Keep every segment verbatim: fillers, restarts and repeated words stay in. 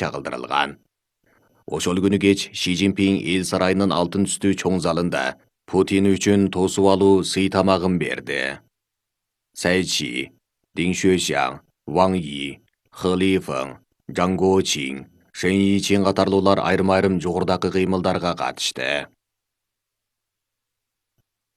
чагылдырылган. Ошол күнү кеч Ши Цзиньпин эл сарайынын алтын түстүү чоң залында Путин үчүн тосуп алуу сый тамагын берди. Цай Чи, Дин Xuexiang, Ван Yi, He Lifeng, Zhang Guoqing, Shen Yiqing катарлуулар айрым-айрым жогорудагы кыймылдарга катышты.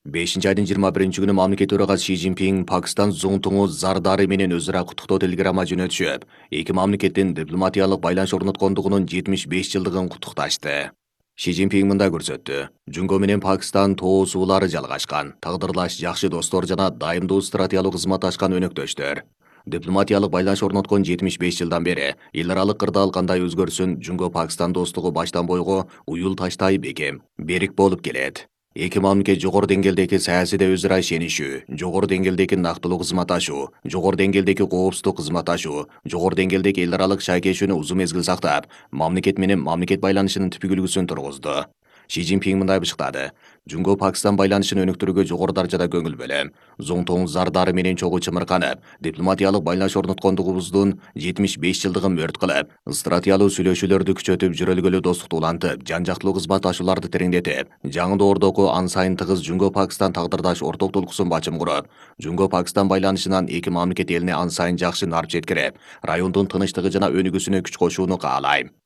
бешинчи айдын жыйырма биринчи күнү мамлекет төрагасы Ши Цзиньпин Пакистан зуңтуңу Зардары менен өз ара куттуктоо телеграмма жөнөтүшүп, эки мамлекеттин дипломатиялык байланыш орноткондугунун жетимиш беш жылдыгын куттукташты. Ши Цзиньпин мындай көрсөттү. Жунго менен Пакистан тоо суулары жалгашкан, тагдырлаш жакшы достор жана дайымдуу стратегиялык кызматташкан өнөктөштөр. Дипломатиялык байланыш орноткон жетимиш беш жылдан бери эл аралык кырдаал кандай өзгөрсүн, Жунго Пакистан достугу баштан бойго уюл таштай бекем, берик болуп келет. Эки мамлекет жогору деңгээлдеги саясийде өз ара ишенишүү, жогору деңгээлдеги нактылуу кызматташуу, жогору деңгээлдеги коопсуздук кызматташуу, жогору деңгээлдеги эл аралык шайкешүүнү узун мезгил сактап, мамлекет менен мамлекет байланышынын түпкүлүгүсүн тургузду. Ши Цзиньпин мындай бышыктады. Жунго Пакистан байланышын өнүктүрүүгө жогору даражада көңүл бөлөм. Зуңтуң Зардары менен чогуу чымырканып, дипломатиялык байланыш орноткондугубуздун жетимиш беш жылдыгын мөрт кылып, стратегиялык сүйлөшүүлөрдү күчөтүп, жүрөлгөлүү достукту улантып, жан-жактылуу кызматташууларды тереңдетип, жаңы доордогу ан сайын тыгыз Жунго Пакистан тагдырдаш орток толкусун бачым куруп, Жунго Пакистан байланышынан эки мамлекет элине ан сайын жакшы нарп жеткирип, райондун тынычтыгы жана өнүгүүсүнө күч кошууну каалайм.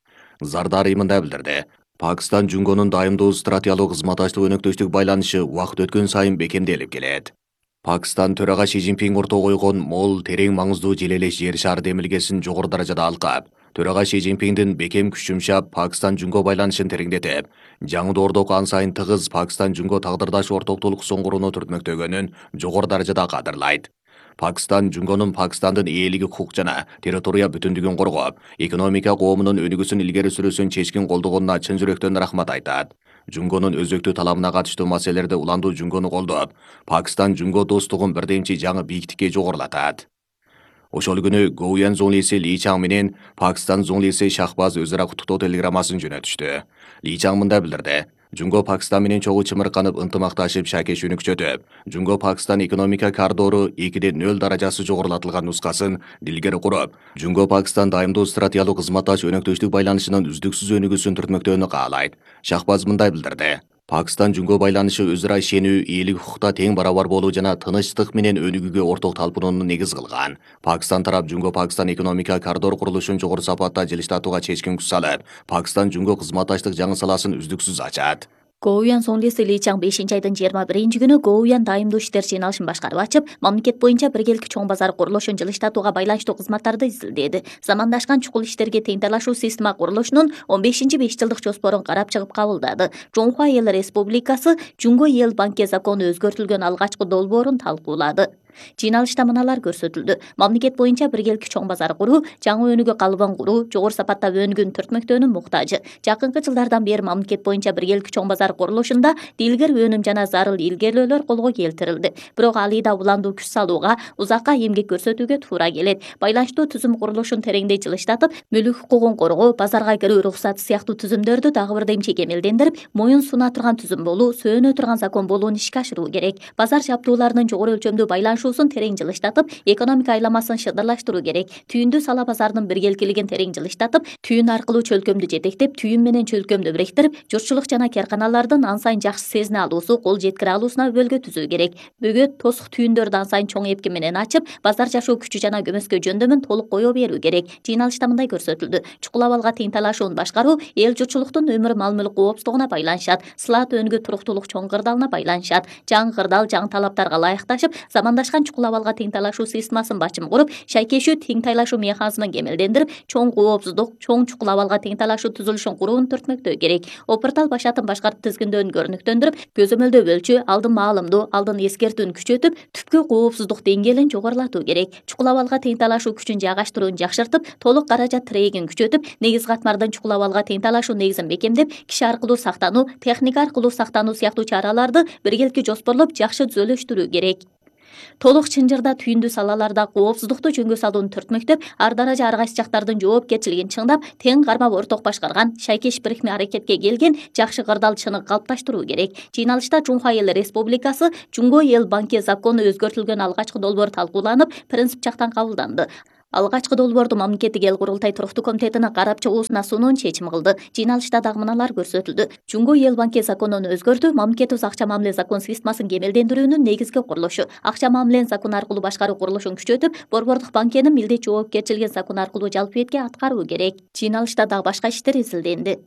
Зардары мындай билдирди. Пакистан Жунгонун дайымдуу стратегиялык кызматташтык өнөктөштүк байланышы убакыт өткөн сайын бекемделип келет. Пакистан төрага Ши Цзиньпин орто койгон мол, терең маңыздуу желелеш жер шары демилгесин жогору даражада алкап, төрага Ши Цзиньпиндин бекем күч жумшап, Пакистан Жунго байланышын тереңдетип, жаңы доордогу ан сайын тыгыз Пакистан Жунго тагдырдаш орток толкусун курууну түртмөктөгөнүн жогору даражада кадырлайт. Пакистан Жунгонун Пакистандын ээлиги, укук жана территория бүтүндүгүн коргоп, экономика коомунун өнүгүүсүн илгери сүрүүсүн чечкин колдогонуна чын жүрөктөн рахмат айтат. Жунгонун өзөктүү талабына катыштуу маселелерде уландуу Жунгону колдоп, Пакистан Жунго достугун бирдемчи жаңы бийиктикке жогорулатат. Ошол күнү Гоуян зуңлиси Ли Чаң менен Пакистан зуңлиси Шахбаз өз ара куттуктоо телеграммасын жөнөтүштү. Ли Чаң мындай билдирди. Жунго Пакистан менен чогуу чымырканып, ынтымакташып, шайкешүүнү күчөтүп, Жунго Пакистан экономика коридору экиде нөл даражасы жогорулатылган нускасын дилгери куруп, Жунго Пакистан дайымдуу стратегиялык кызматташ өнөктөштүк байланышынын үздүксүз өнүгүүсүн түртмөктөөнү каалайт. Шахбаз мындай билдирди. Пакистан Жунго байланышы өз ара ишенүү, ээлик укукта тең барабар болуу жана тынычтык менен өнүгүүгө орток талпынууну негиз кылган. Пакистан тарап Жунго Пакистан экономика коридор курулушун жогору сапатта жылыштатууга чечкин күч салып, Пакистан Жунго кызматташтык жаңы саласын үздүксүз ачат. Гоуян зуңлиси Ли Чаң бешинчи айдын жыйырма биринчи күнү Гоуян дайымдуу иштер жыйналышын башкарып ачып, мамлекет боюнча биргеликти чоң базар курулушун жылыштатууга байланыштуу кызматтарды изилдеди. Замандашкан чукул иштерге тең талашуу система курулушунун он бешинчи беш жылдык жоспорун карап чыгып кабылдады. Жоңхуа Эл Республикасы Жунго Эл банке закону өзгөртүлгөн алгачкы долбоорун талкуулады. Жыйналышта мыналар көрсөтүлдү. Мамлекет боюнча биргеликти чоң базар куруу, жаңы өнүгүү калыбын куруу, жогору сапатта өнүгүүнү түртмөктөөнүн муктажы. Жакынкы жылдардан бери мамлекет боюнча биргеликти чоң базар курулушунда дилгер өнүм жана зарыл илгерүүлөр колго келтирилди. Бирок алыйда уландуу күч салууга, узакка эмгек көрсөтүүгө туура келет. Байланыштуу түзүм курулушун тереңдей жылыштатып, мүлүк укугун коргоо, базарга кирүү уруксаты сыяктуу түзүмдөрдү дагы бирдемчи кемелдендирип, моюн суна турган түзүм болуу, сөөнө турган закон болууну ишке ашыруу керек. Базар жабдууларынын жогору өлчөмдүү байланышуу терең жылыштатып, экономика айламасын шыдырлаштыруу керек. Түйүндүү сала базарынын биргеликилигин терең жылыштатып, түйүн аркылуу чөлкөмдү жетектеп, түйүн менен чөлкөмдү бириктирип, журтчулук жана карканалардын ан сайын жакшы сезине алуусу, кол жеткире алуусуна өбөлгө түзүү керек. Бөгөт, тосук түйүндөрдү ан сайын чоң эпки менен ачып, базар жашоо күчү жана көмөскө жөндөмүн толук кое берүү керек. Жыйналышта мындай көрсөтүлдү. Чукул абалга тең талашууну башкаруу эл журтчулуктун өмүр мал-мүлк коопсуздугуна байланышат, сылаат өнүгүү туруктуулук чоң кырдаалына байланышат. Жаңы кырдаал жаңы талаптарга ылайыкташып, замандашкан чукул абалга тең талашуу системасын бачым куруп, шайкешүү тең талашуу механизмин кемелдендирип, чоң коопсуздук, чоң чукул абалга тең талашуу түзүлүшүн курууну түртмөктөө керек. Опортал башатын башкарып тизгиндөөүн көрүнүктөндүрүп, көзөмөлдөө өлчү, алдын маалымдоо, алдын эскертүүнү күчөтүп, түпкү коопсуздук деңгээлин жогорулатуу керек. Чукул абалга тең талашуу күчүн жайгаштырууну жакшыртып, толук каражат тирегин күчөтүп, негиз катмардын чукул абалга тең талашуу негизин бекемдеп, киши аркылуу сактануу, техника аркылуу сактануу сыяктуу чараларды биргеликти жоспорлоп, жакшы түзөлүштүрүү керек. Толук чынжырда түйүндүү салаларда коопсуздукту жөнгө салууну түртмөктөп, ар даража ар кайсы жактардын жоопкерчилигин чыңдап, тең кармап орток башкарган, шайкеш бирикме аракетке келген жакшы кырдаал чыныгы калыпташтыруу керек. Жыйналышта Жоңхуа Эл Республикасы Жунго Эл банке закону өзгөртүлгөн алгачкы долбоор талкууланып, принцип жактан кабылданды. Алгачкы долбоорду мамлекеттик эл курултай туруктуу комитетинин карап чыгуусуна суунун чечим кылды. Жыйналышта дагы мыналар көрсөтүлдү. Жумго эл банки законун өзгөртүү, мамлекеттик акча мамиле закон системасын кемелдендирүүнүн негизги курулушу, акча мамиленин закон аркылуу башкаруу курулушун күчөтүп, борбордук банкенин милдет жоопкерчилигин закон аркылуу жалпы бетке аткаруу керек. Жыйналышта дагы башка иштер изилденди.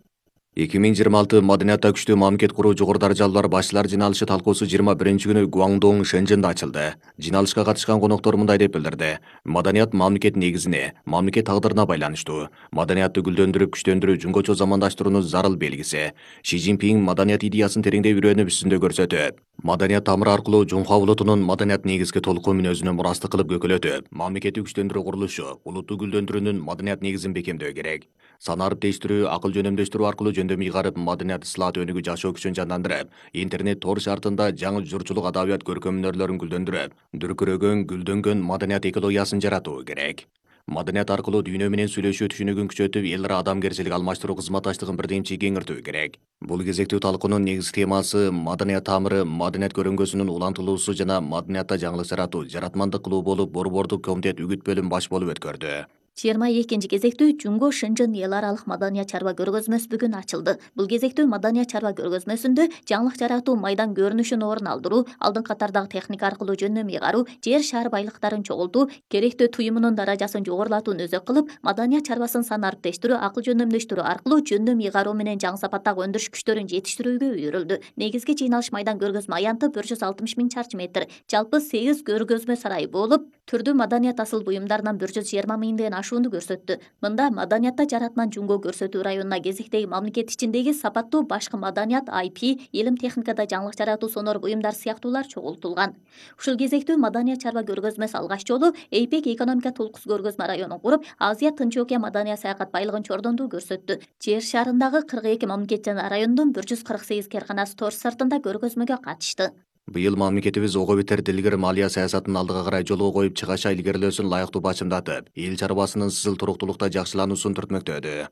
эки миң жыйырма алты маданиятта күчтүү мамлекет куруу жогору даражалуулар башчылар жыйналышы талкуусу жыйырма биринчи күнү Гуаңдоң Шэньчжэнде ачылды. Жыйналышка катышкан коноктор мындай деп билдирди. Маданият мамлекет негизине, мамлекет тагдырына байланыштуу. Маданиятты гүлдөндүрүп, күчтөндүрүү жөнгөчө замандаштыруунун зарыл белгиси. Ши Цзиньпин маданият идеясын тереңдей үйрөнүп үстүндө көрсөтөт. Маданият тамыры аркылуу Жунхуа улутунун маданият негизги толкун мүнөзүнө мурастык кылып көкөлөтүп, мамлекетти күчтөндүрүү курулушу, улутту гүлдөндүрүүнүн маданият негизин бекемдөө керек. Санарып тештирүү, акыл жөнөмдөштүрүү аркылуу жөндөм ыйгарып, маданият ислаат өнүгүү жашоо күчүн жандандырып, интернет тор шартында жаңы журчулук адабият көркөм өнөрлөрүн гүлдөндүрүп, дүркүрөгөн, гүлдөнгөн маданият экологиясын жаратуу керек. Маданият аркылуу дүйнө менен сүйлөшүү түшүнүгүн күчөтүп, эл ара адамгерчилик алмаштыруу кызматташтыгын бирдемчи кеңиртүү керек. Бул кезектүү талкуунун негизги темасы маданият тамыры, маданият көрөңгөсүнүн улантылуусу жана маданиятта жаңылык жаратуу, жаратмандык кылуу болуп, борбордук комитет үгүт бөлүм баш болуп өткөрдү. жыйырма экинчи кезектүү Жунго Шэньчжэн эл аралык маданият чарба көргөзмөсү бүгүн ачылды. Бул кезектүү маданият чарба көргөзмөсүндө жаңылык жаратуу, майдан көрүнүшүн орун алдыруу, алдыңкы катардагы техника аркылуу жөндөм ыйгаруу, жер шаар байлыктарын чогултуу, керектөө туюмунун даражасын жогорулатууну өзөк кылып, маданият чарбасын санарып тештирүү, акыл жөндөмдөштүрүү аркылуу жөндөм ыйгаруу менен жаңы сапаттагы өндүрүш күчтөрүн жетиштирүүгө үйрүлдү. Негизги жыйналыш майдан көргөзмө аянты бир жүз алтымыш миң чарчы метр, жалпы сегиз көргөзмө сарайы болуп, түрдүү маданият асыл буюмдарынан бир жүз жыйырма миңден ашууну көрсөттү. Мында маданиятта жаратман Жунго көрсөтүү районуна кезектеги мамлекет ичиндеги сапаттуу башкы маданият, ай пи, илим техникада жаңылык жаратуу сонор буюмдар сыяктуулар чогултулган. Ушул кезектүү маданият чарба көргөзмөсү алгач жолу эйпек экономика толкус көргөзмө районун куруп, Азия Тынч океан маданият саякат байлыгын чордондуу көрсөттү. Жер шарындагы кырк эки мамлекет жана райондун бир жүз кырк сегиз кээрканасы тор сыртында көргөзмөгө катышты. Быйыл мамлекетибиз ого бетер дилгир малия саясатын алдыга карай жолго коюп, чыгаша илгерилөөсүн лайыктуу бачымдатып, эл чарбасынын сызыл туруктуулукта жакшылануусун түртмөктөдү.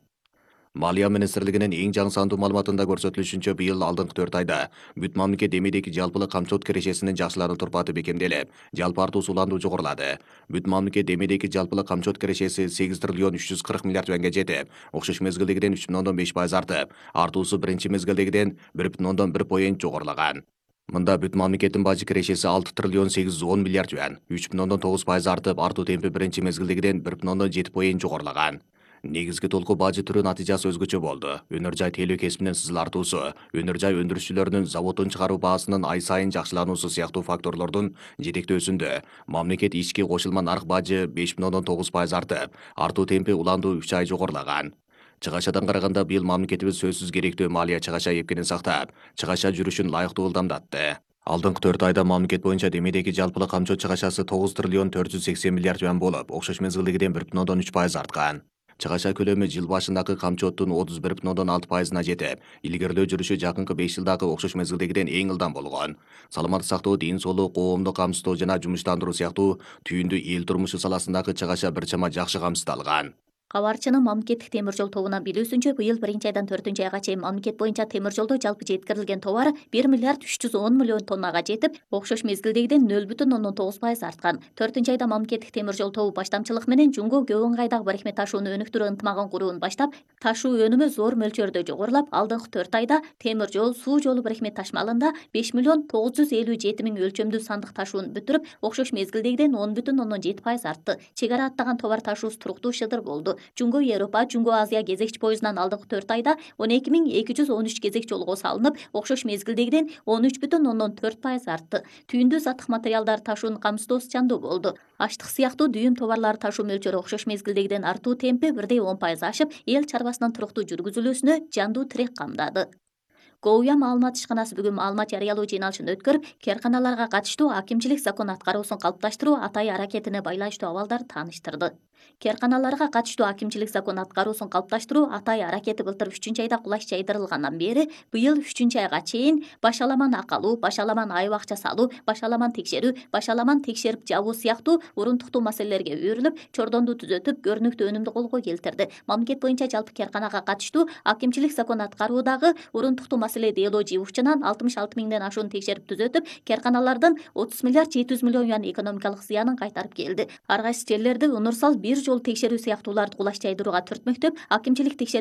Малия министрлигинин эң жаңы сандуу маалыматында көрсөтүлүшүнчө, быйыл алдыңкы төрт айда бүт мамлекет эмедеги жалпылык камчылык кирешесинин жакшылануу турпаты бекемделип, жалпы артуу суландуу жогорулады. Бүт мамлекет эмедеги жалпылык камчылык кирешеси сегиз триллион үч жүз кырк миллиард юанга жетип, окшош мезгилдегиден үч бүтүн ондон беш пайыз артып, артуусу биринчи мезгилдегиден бир бүтүн ондон бир поинт жогорулаган. Мында бүт мамлекеттин бажы кирешеси алты триллион сегиз жүз он миллиард юан, үч бүтүн ондон тогуз пайыз артып, артуу темпи биринчи мезгилдегиден бир бүтүн ондон жети поинт жогорулаган. Негизги толку бажы түрү натыйжасы өзгөчө болду. Өнөр жай тейлөө кесибинин сызыл артуусу, өнөр жай өндүрүшчүлөрүнүн заводдун чыгаруу баасынын ай сайын жакшылануусу сыяктуу факторлордун жетектөөсүндө мамлекет ички кошулма нарк бажы беш бүтүн ондон тогуз пайыз артып, артуу темпи уландуу үч ай жогорулаган. Чыгашадан караганда быйыл мамлекетибиз сөзсүз керектүү малия чыгаша эпкенин сактап, чыгаша жүрүшүн лайыктуу ылдамдатты. Алдыңкы төрт айда мамлекет боюнча демедеги жалпылык камчоо чыгашасы тогуз триллион төрт жүз сексен миллиард юан болуп, окшош мезгилдегиден бир бүтүн ондон үч пайыз арткан. Чыгаша көлөмү жыл башындагы камчооттун отуз бир бүтүн ондон алты пайызына жетип, илгерилөө жүрүшү жакынкы беш жылдагы окшош мезгилдегиден эң ылдам болгон. Саламаттык сактоо, ден соолук, коомдук камсыздоо жана жумуштандыруу сыяктуу түйүндүү эл турмушу саласындагы чыгаша бир чама жакшы камсыздалган. Кабарчынын мамлекеттик темир жол тобунан билүүсүнчө, быйыл биринчи айдан төртүнчү айга чейин мамлекет боюнча темир жолдо жалпы жеткирилген товар бир миллиард үч жүз он миллион тоннага жетип, окшош мезгилдегиден нөл бүтүн ондон тогуз пайыз арткан. төртүнчү айда мамлекеттик темир жол тобу баштамчылык менен Жунго көп ыңгайдагы барихмет ташууну өнүктүрүү ынтымагын курууну баштап, ташуу өнүмү зор мөлчөрдө жогорулап, алдыңкы төрт айда темир жол, суу жолу барихмет ташмалында беш миллион тогуз жүз элүү жети миң өлчөмдүү сандык ташууну бүтүрүп, окшош мезгилдегиден он бүтүн ондон жети пайыз артты. Чек ара аттаган товар ташуусу туруктуу шыдыр болду. Жунго Европа, Жунго Азия кезекчи поездунан алдыңкы төрт айда он эки миң эки жүз он үч кезек жолго салынып, окшош мезгилдегиден он үч бүтүн ондон төрт пайыз артты. Түйүндүү заттык материалдар ташуунун камсыздоосу чандуу болду. Аштык сыяктуу дүйүм товарлары ташуу мөлчөрү окшош мезгилдегиден артуу темпи бирдей он пайыз ашып, эл чарбасынын туруктуу жүргүзүлүүсүнө жандуу тирек камдады. Гоуя маалымат ишканасы бүгүн маалымат жарыялоо жыйналышын өткөрүп, кээрканаларга катыштуу акимчилик закон аткаруусун калыпташтыруу атай аракетине байланыштуу абалдарды тааныштырды. Кээрканаларга катыштуу акимчилик закон аткаруусун калыпташтыруу атай аракети былтыр үчүнчү айда кулаш жайдырылгандан бери быйыл үчүнчү айга чейин баш аламан акалуу, баш аламан айып акча салуу, баш аламан текшерүү, баш аламан текшерип жабуу сыяктуу урунтуктуу маселелерге үйрүлүп, чордондуу түзөтүп, көрүнүктүү өнүмдү колго келтирди. Мамлекет боюнча жалпы кээрканага катыштуу акимчилик закон аткаруудагы урунтуктуу маселе дело жыйуучунан алтымыш алты миңден ашууну текшерип түзөтүп, кээрканалардын отуз миллиард жети жүз миллион юан экономикалык зыянын кайтарып келди. Ар кайсы жерлерде унурсал бир жолу текшерүү сыяктууларды кулаш жайдырууга төрт мектеп, акимчилик текшерүү